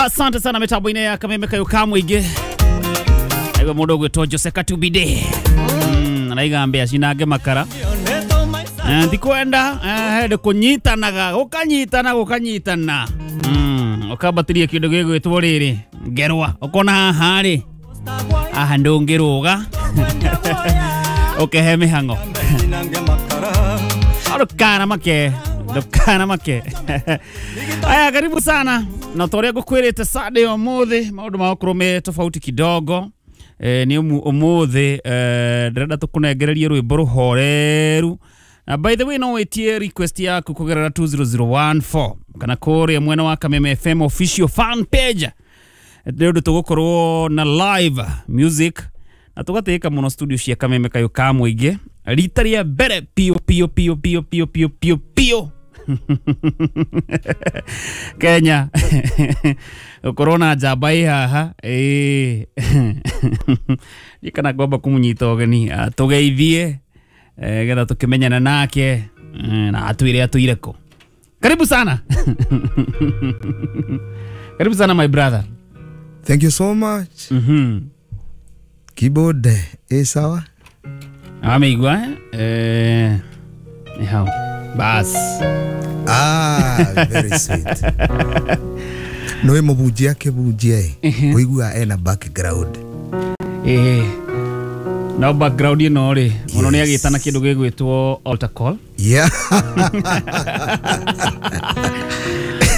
Asante sana mitambo-inĩ ya Kameme Kayũ ka mũingĩ. Aigua mũndũ ũgwĩtwo Jose Katubide. Araiga mbĩa cinange makara. Ndikwenda hĩndĩ kũnyitanaga gũkanyitana gũkanyitana. Ũkambatĩria kĩndũ gĩgwĩtwo rĩrĩ ngerwa ũkona haha rĩ haha ndũngĩrũga ũkehe mĩhang'o. Ndũkana make ndũkana make. Aya, karibu sana na ta ũrĩa ngũkwĩrĩte Sunday ũmũthĩ maũndũ magũkorwo me tofauti kidogo. Nĩ ũmũthĩ ndĩrenda tũkũnengererie rwĩmbo rũhoreru. Na by the way no wĩtie request yaku kũgerera 20014 kana kũrĩa mwena wa Kameme FM official fan page. Nĩ ũndũ tũgũkorwo na live music na tũgatĩĩka mũno studio cia Kameme Kayũ ka mũingĩ rita rĩa mbere pio pio pio pio pio pio pio pio Kenya gũkorwo na njamba ĩ haha ĩĩ ndiĩ kana ngwamba kũmũnyita ũgeni atũgeithie getha tũkĩmenyana nake na atwĩre atũire kũ. Karibu sana. Karibu sana my brother. Thank you so much. Keyboard sawa? Ameigua ni hau. Bas. Ah, very sweet. Noe mubunjia akĩbunjia ĩ ũigua ena background. No background ĩno rĩ mũno nĩ agĩtana kĩndũ gĩgwĩtwo altar call. Yeah.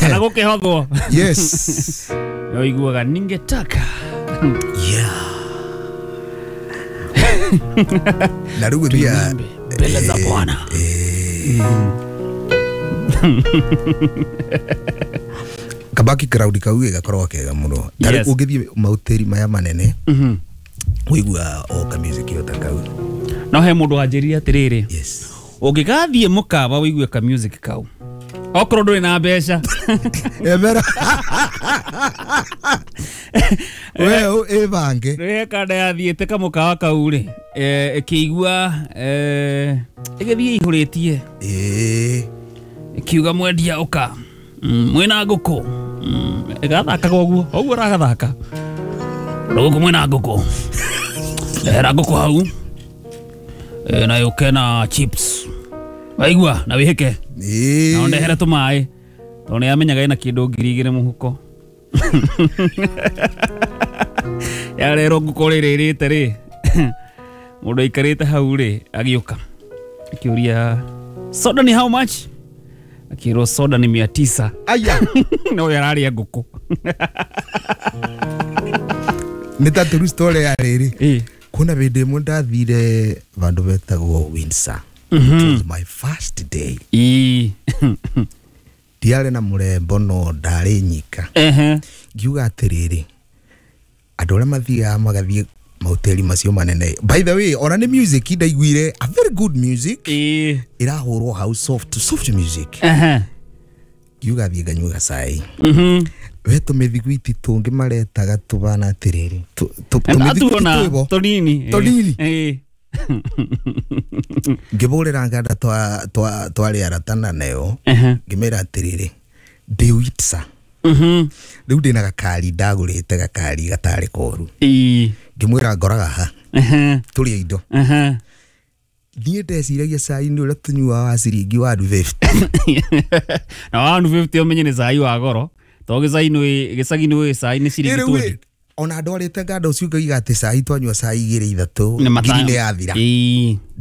Kana gũkĩhothwo. Yes. Ũiguaga ningetaka. Yeah. Na rĩu gũthiaga mbele za Bwana. Kabaki crowd kau gakoragwo kega mũno. Ta rĩu ũngĩthiĩ mahoteri maya manene ũigua o ka music ĩyo ta kau. No he mũndũ wanjĩrire atĩrĩrĩ. Yes. Ũngĩgathiĩ mũkawa ũigue ka music kau okorwo ndũrĩ na mbeca. Emera. We ĩbange. Rĩrĩa kanda yathiĩte kamũkawa kau rĩ ĩkĩigua ĩgĩthiĩ ĩihũrĩtie. Ĩkiuga mwendia ũka mwĩna ngũkũ. Ĩgathakaga ũguo ũguo ũragathaka gũkũ mwĩna ngũkũ ndehera ngũkũ hau na yũke na chips waigua na wĩhĩke na ũndehere tũmaĩ tondũ nĩ yamenyaga ĩna kĩndũ 2,000 mũhuko. Yarerwo ngũkũ rĩrĩ ĩrĩte rĩ mũndũ aikarĩte hau rĩ agĩũka akĩũria soda ni how much? Akĩrwo soda ni 900. Aya. No yararĩa ngũkũ. Nĩ ta true story ya rĩrĩ. Kuna hĩndĩ ĩmwe ndathire vandũ betagwo Windsor. It was my first day. Ndiarĩ na mũrembo no ndarĩ nyika. Ngiuga atĩrĩrĩ andũ arĩa mathiaga magathiĩ mahoteri macio manene. By the way, ona nĩ music ndaiguire a very good music. Ĩrahũrwo hau soft soft music. Ngiuga thiĩ nganyue gacai. We tũmĩthiguiti tũngĩ maretaga tũbana atĩrĩrĩ tũmĩthiguiti twĩbo tũnini tũnini. Ngĩbũrĩra nganda twarĩ aratana nayo ngĩmera atĩrĩrĩ ndĩ Windsor. Rĩu ndĩna gakari ndagũrĩte gakari gatarĩ koru. Ngĩmwĩra ngoraga ha tũrĩe indo. Niĩ ndeciragia cai nĩ ũrĩa tũnyuaga wa ciringi 150. Na 150 ũmenye nĩ cai wa goro tondũ gĩcagi nĩ cai nĩ ciringi 20. Ona ndwarĩte nganda ũcio ngaiga atĩ cai twanyua cai igĩrĩ ithatũ ngiri nĩ yathira.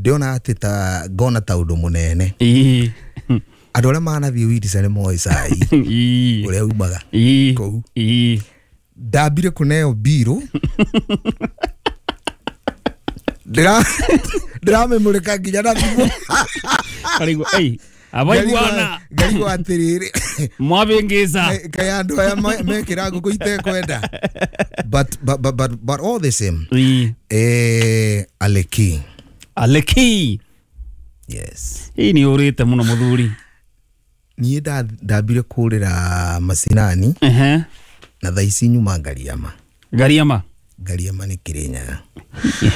Ndĩona atĩ ta ngona ta ũndũ mũnene. Andũ arĩa manathiĩ Windsor nĩ moĩ cai ũrĩa umaga kũu. Ndambire kũneo mbirũ ndĩramĩmũrĩka nginya na thimũ. Karigwo abaiguana ngarigwo atĩrĩrĩ mwabĩngĩca kaĩ andũ aya mekĩra ngũkũ itekwenda. But all the same Aleki. Aleki. Yes. Hii nĩ ũrĩte mũno mũthuri. Niĩ ndambire kũrĩra macinani na thaa ici nyuma Ngariama. Ngariama. Ngariama nĩ Kĩrĩnyaga.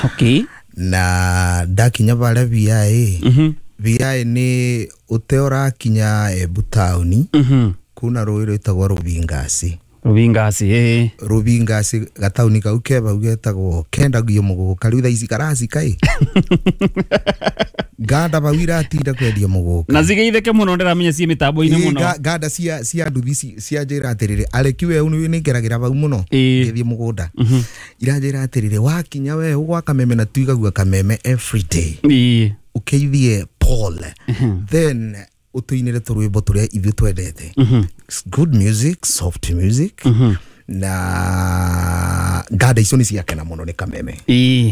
Okay. Na ndakinya barĩa VIA. VIA nĩ ũte ũrakinya Embu taũni kuna rũĩ rwĩtagwo Rũbingasi. Rubingasi ĩĩ. Rubingasi gatauni kau ke bau getagwo kendagio mũgũka rĩu thaa ici karacika ĩ nganda bau iratinda kwendia mũgũka. Na cigeithĩke mũno, ndĩramenya ciĩ mĩtambo-inĩ Ĩ, mũno. Nganda cia nduthi cia njĩra atĩrĩrĩ, areki we nĩ ngeragĩra bau mũno ngĩthiĩ mũgũnda, iranjĩra atĩrĩrĩ, wakinya we gwa Kameme na tuigagua Kameme every day, ũkeithie Paul, then ũtũinĩre tũrwĩmbo tũrĩa ithuĩ twendete. It's good music, soft music, na nganda icio nĩ ciakena mũno nĩ Kameme.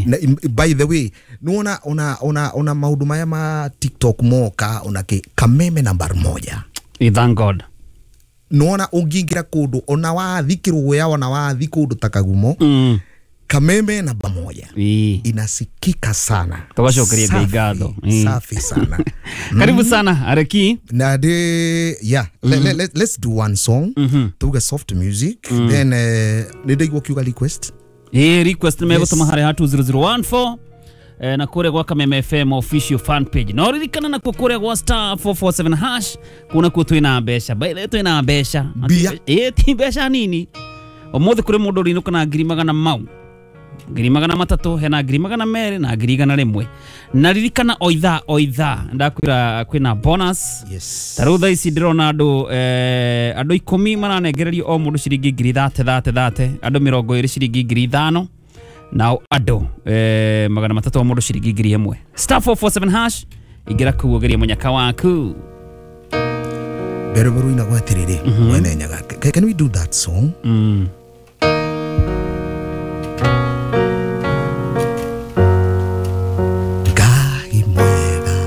Na, by the way, nĩwona ona maũndũ maya ma TikTok moka ona kĩ, Kameme number moja. Thank God. Nĩwona ũngĩingĩra kũndũ ona wathi kĩrũya ona wathi kũndũ ta Kagumo, Kameme namba moja inasikika sana. Tũgacokeria Ngai Safi, ngatho. Safi sana. Karibu sana areki. Na de yeah, let's do one song, tuge soft music, then nĩ ndaigua ũkiuga request. Ĩĩ, request nĩ megũtũma harĩa ha 20014 na kũrĩa gwa Kameme FM official fan page, no ririkana nakuo kũrĩa gwa *447# kũu nakuo twĩna mbeca. By the way, twĩna mbeca. Mbia. Ĩĩ, ti mbeca nini. Ũmũthĩ kũrĩ mũndũ ũrĩinũka na ngiri magana mau, 300,000, hena 200,000 na 100,000. Na ririkana o ithaa o ithaa ndakwĩra kwĩna bonus. Ta rĩu thaa ici ndĩrona andũ andũ 10 maranengererio o mũndũ ciringi ngiri thate thate thate, andũ 20 ciringi 5,000, nao andũ 300 o mũndũ ciringi 1,000. *447# ingĩra kũu ũgerie mũnyaka waku. Mbere rũinagwo atĩrĩrĩ, mwene Nyaga, can we do that song?